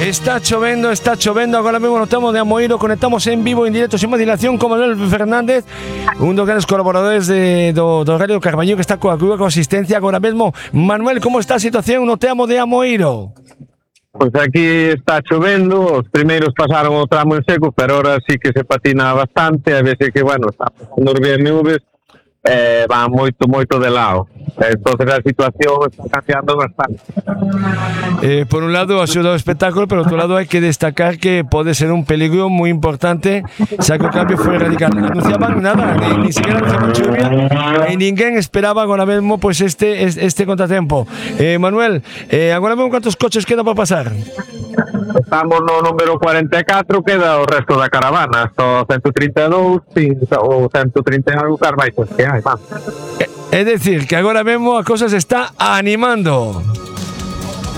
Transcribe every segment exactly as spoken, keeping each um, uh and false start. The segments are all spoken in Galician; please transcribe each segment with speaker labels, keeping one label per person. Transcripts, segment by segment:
Speaker 1: Está chovendo, está chovendo. Agora mesmo notamos de Amoeiro. Conectamos en vivo, en directo, sin más dilación, con Manuel Fernández, un dos grandes colaboradores de, do, do Radio Carballo, que está coa cuba con asistencia agora mesmo. Manuel, como está a situación no Teamo de Amoeiro?
Speaker 2: Pois aquí está chovendo, os primeiros pasaron o tramo en seco, pero ahora sí que se patina bastante, a veces que, bueno, está pasando as nubes, eh, van moito, moito de lado. Entonces a situación está cambiando bastante.
Speaker 1: Eh, por un lado ha sido un espectáculo, pero por otro lado hay que destacar que puede ser un peligro muy importante, ya que el cambio fue radical. Anunciaban nada, ni, ni siquiera anunciaban lluvia, y ninguén esperaba ahora mismo pues este, este contratiempo. Eh, Manuel, eh, ahora mismo ¿cuántos coches quedan para pasar?
Speaker 2: Estamos no número cuarenta e catro, queda o resto da caravana, hasta ciento treinta e dous, ou ciento treinta e algo carvaitos que hai, va.
Speaker 1: Es decir, que agora mesmo a cosa se está animando.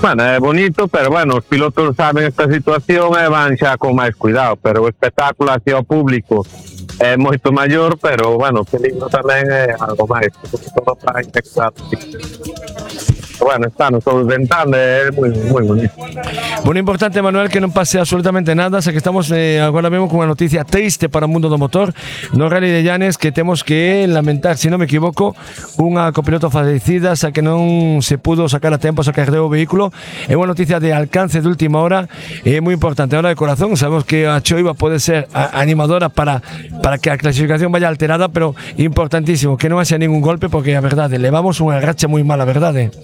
Speaker 2: Bueno, é bonito, pero bueno, os pilotos saben esta situación e van xa con máis cuidado, pero o espectáculo hacia o público é moito maior, pero bueno, o peligro tamén é algo máis, porque todo para infectar. Bueno, están todos ventando, é moi, moi bonito.
Speaker 1: Bueno, importante, Manuel, que non pase absolutamente nada, xa que estamos eh, agora mesmo con unha noticia triste para o mundo do motor no Rally de Llanes, que temos que lamentar, se non me equivoco, unha copiloto fallecida, xa que non se pudo sacar a tempo, sacar o vehículo. É unha noticia de alcance de última hora, é moi importante. Ahora de corazón, sabemos que a choiva pode ser animadora para, para que a clasificación vaya alterada, pero importantísimo que non haxa ningún golpe, porque a verdade, levamos unha racha moi mala, verdade?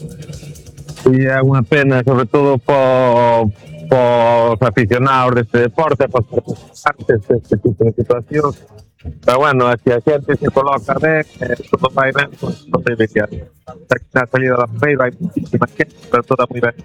Speaker 2: E é unha pena, sobre todo por os aficionados deste deporte, por os participantes deste tipo de situación. Pero bueno, se a xente se coloca ben, eh, todo vai ben, pues, non debe que na salida da feira hai muchísima gente, pero toda moi ben.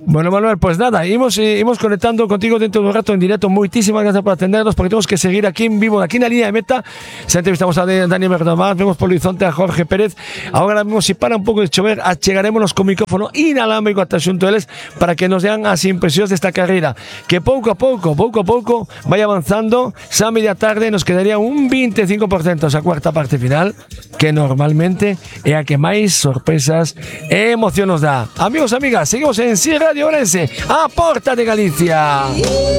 Speaker 1: Bueno, Manuel, pues nada, imos, eh, imos conectando contigo dentro de un rato en directo. Moitísimas gracias por atendernos, porque temos que seguir aquí en vivo, aquí na línea de meta. Se entrevistamos a Dani Berdomar, vemos por Horizonte a Jorge Pérez. Ahora mismo, si para un pouco de chover, achegarémonos con micrófono inalámbrico ata xunto eles para que nos dean as impresións desta carreira, que pouco a pouco, pouco a pouco vai avanzando. Xa a media tarde nos quedaría un veinticinco por ciento esa cuarta parte final, que normalmente é a que máis sorpresas e emoción nos dá. Amigos, amigas, seguimos en Si Radio Ourense, a porta de Galicia.